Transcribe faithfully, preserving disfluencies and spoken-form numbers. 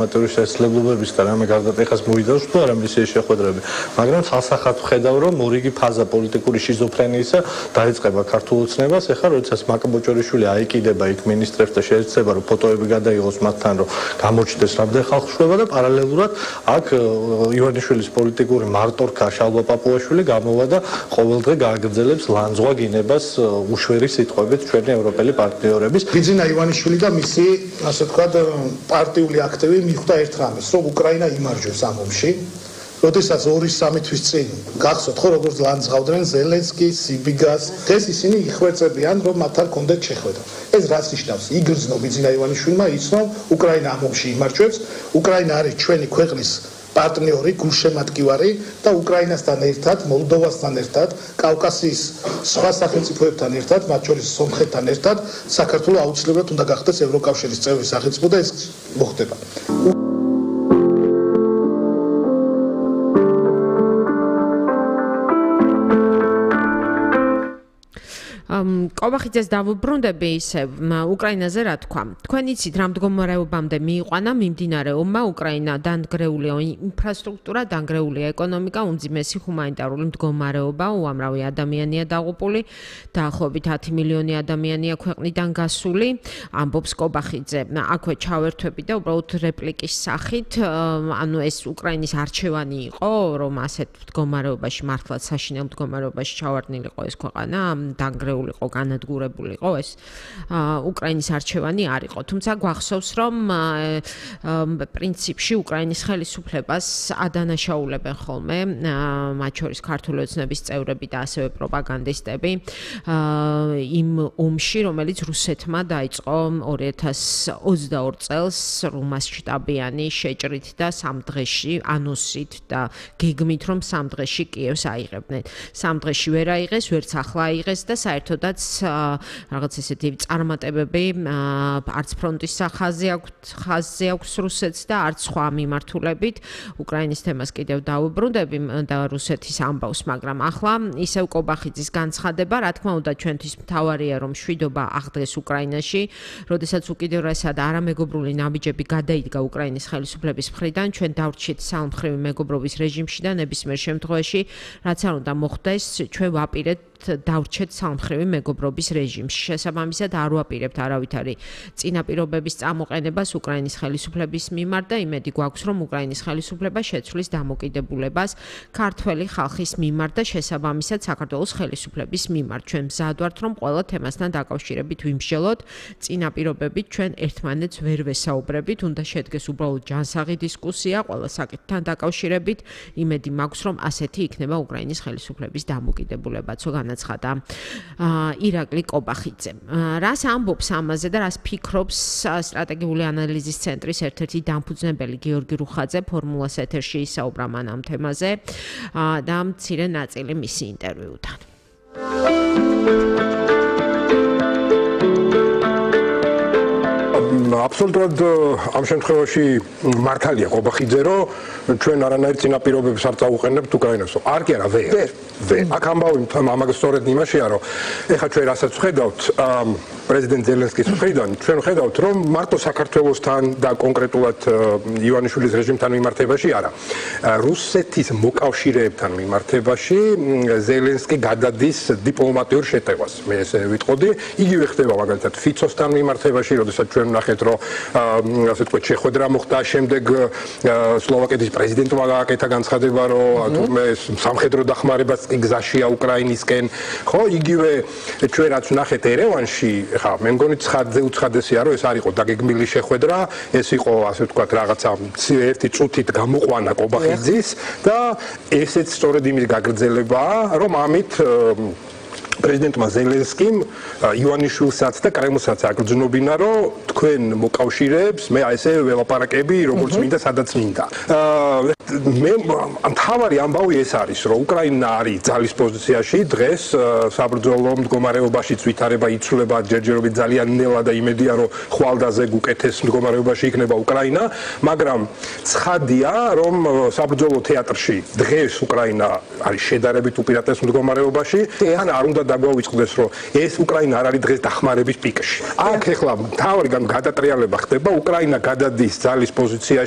მატურის შესაძლებლობების და რამე გარდატეხას მოიდავს თუ არა მისი შეხვედრები, მაგრამ ხალხსახად ვხედავ, რომ მორიგი ფაზა პოლიტიკური შიზოფრენიისა დაიწყება ქართულ ოცნებას, ეხლა როდესაც მაკაბოჭორიშვილი აიკიდება იქ მინისტრებთან შეეცდება, რომ ფოტოები გადაიღოს მათთან, რომ გამოჩნდეს რამდენი ხალხშუება და პარალელურად აქ ივანიშვილის პოლიტიკური მარტორქა შალვა პაპუაშვილი გამოვა და ყოველდღე გააგრძელებს ლანძღვა გინებას უშვერი სიტყვებით ჩვენი ევროპელი პარტნიორების. ბიძინა ივანიშვილი და მისი, ასე ვთქვათ, პარტიული აქტივი მიხვდა ერთ რამეს, რომ უკრაინა იმარჯვებს ამ ომში. როდესაც ორი სამი თვის წინ გახსოვთ ხო როგორც ლანძღავდნენ ზელენსკის, სიბიგას, დღეს ისინი იხვეწებიან, რომ მათთან კონდეთ შეხვედრა. ეს რას ნიშნავს? იგრძნო ბიძინა ივანიშვილმა იცნო, უკრაინა ამ ომში იმარჯვებს, უკრაინა არის ჩვენი ქვეყნის პარტნიორი, გულშემატკივარი და უკრაინასთან ერთად, მოლდოვასთან ერთად, კავკასიის სხვა სახელმწიფოებთან ერთად, მათ შორის სომხეთთან ერთად, საქართველო აუცილებლად უნდა გახდეს ევროკავშირის წევრი სახელმწიფო და ეს მოხდება. კობახიძეს დავუბრუნდები ისე უკრაინაზე რა თქვა. თქვენ იცით რა მდგომარეობამდე მიიყვანა მიმდინარე ომმა უკრაინა დანგრეულია ინფრასტრუქტურა, დანგრეულია ეკონომიკა, უმძიმესი ჰუმანიტარული მდგომარეობა, უამრავი ადამიანია დაღუპული, დაახლოებით ათი მილიონი ადამიანია ქვეყნიდან გასული. ამბობს კობახიძე. აქვე ჩავერთვები და უბრალოდ რეპლიკის სახით, ანუ ეს უკრაინის არჩევანი იყო, რომ ასეთ მდგომარეობაში მართლაც საშინელ მდგომარეობაში ჩავარდნილიყო ეს ქვეყანა, დანგრეული იყო, განადგურებულიყო ეს უკრაინის არჩევანი არ იყო. თუმცა გვახსოვს, რომ პრინციპში უკრაინის ხელისუფლებას ადანაშაულებენ ხოლმე, მათ შორის ქართული ოცნების წევრები და ასევე პროპაგანდისტები იმ ომში, რომელიც რუსეთმა დაიწყო ორი ათას ოცდაორი წელს რუმასშტაბიანი შეჭრით და სამ დღეში ანუსით და გეგმით, რომ სამ დღეში კიევს აიღებდნენ. სამ დღეში ვერ აიღეს, ვერც ახლა აიღეს და საერთოდაც რაღაც ესეთი წარმატებები არც ფრონტის ხაზზე აქვს ხაზზე აქვს რუსეთს და არც სხვა მიმართულებით. უკრაინის თემას კიდევ დავუბრუნდები და რუსეთის ამბავს, მაგრამ ახლა ისევ კობახიძის განცხადება, რა თქმა უნდა, ჩვენთვის მთავარია, რომ მშვიდობა აღდგეს უკრაინაში, როდესაც უკიდურესად არამეგობრული ნაბიჯები გადაიდგა უკრაინის ხელისუფლების მხრიდან, ჩვენ დავრჩით სამმხრივი მეგობრობის რეჟიმში და ნებისმიერ შემთხვევაში, რაც არ უნდა მოხდეს, ჩვენ ვაპირებთ დავრჩეთ სამმხრივი მეგობრობის რეჟიმში. შესაბამისად არ ვაპირებთ არავითარი წინაპირობების წამოყენებას უკრაინის ხელისუფლების მიმართ და იმედი გვაქვს, რომ უკრაინის ხელისუფლება შეცვლის დამოკიდებულებას ქართველი ხალხის მიმართ და შესაბამისად საქართველოს ხელისუფლების მიმართ. ჩვენ მზად ვართ, რომ ყველა თემასთან დაკავშირებით ვიმსჯელოთ, წინაპირობებით ჩვენ ერთმანეთს ვერ ვესაუბრებით, უნდა შედგეს უბრალოდ ჯანსაღი დისკუსია ყველა საკითხთან დაკავშირებით. იმედი მაქვს, რომ ასეთი იქნება უკრაინის ხელისუფლების დამოკიდებულებაც. განაცხადა ირაკლი კობახიძე. რას ამბობს ამაზე და რას ფიქრობს სტრატეგიული ანალიზის ცენტრის ერთ-ერთი დამფუძნებელი გიორგი რუხაძე, ფორმულას ეთერში ისაუბრა მან ამ თემაზე და მცირე ნაწილი მისი ინტერვიუდან. აბსოლუტურად ამ შემთხვევაში მართალია კობახიძე, რომ ჩვენ არანაირ წინაპირობებს არ წავუყენებთ უკრაინას. არ კი არა, ვერ. ვერ. აქ ამბავი ამაგ სწორედ იმაშია, რომ ეხლა ჩვენ რასაც ვხედავთ პრეზიდენტ ზელენსკის მხრიდან, ჩვენ ვხედავთ, რომ მარტო საქართველოსთან და კონკრეტულად ივანიშვილის რეჟიმთან მიმართებაში არა. რუსეთის მოკავშირეებთან მიმართებაში ზელენსკი გადადის დიპლომატიურ შეტევას. მე ესე ვიტყოდი, იგივე ხდება მაგალითად ფიცოსთან მიმართებაში, როდესაც ჩვენ ვნახეთ, რომ ასე ვთქვათ, შეხვედრა მოხდა, შემდეგ სლოვაკეთის პრეზიდენტმა გააკეთა განცხადება, რომ თურმე სამხედრო დახმარებაც გზაშია უკრაინისკენ. ხო, იგივე ჩვენ რაც ვნახეთ ერევანში, ხა, მე მგონი ცხადზე უცხადესია, რომ ეს არ იყო დაგეგმილი შეხვედრა, ეს იყო ასე ვთქვათ, რაღაცა ერთი წუთით გამოყვანა კობახიძის და ესეც სწორედ იმის გაგრძელებაა, რომ ამით პრეზიდენტმა ზელენსკიმ ივანიშვილსაც და კრემლსაც აგრძნობინა, რომ თქვენ მოკავშირეებს მე ესე ველაპარაკები, როგორც მინდა, სადაც მინდა. მე მთავარი ამბავი ეს არის, რომ უკრაინა არის ძალის პოზიციაში დღეს საბრძოლო მდგომარეობაშიც ვითარება იცვლება ჯერჯერობით ძალიან ნელა და იმედია, რომ ხვალდაზე უკეთეს მდგომარეობაში იქნება უკრაინა, მაგრამ ცხადია, რომ საბრძოლო თეატრში დღეს უკრაინა არის შედარებით უპირატეს მდგომარეობაში, ან არ უნდა დაგვაუწყდეს, რომ ეს უკრაინა არ არის დღეს დახმარების პიკში. აქ ეხლა თავი გადატრიალება ხდება, უკრაინა გადადის ძალის პოზიციაში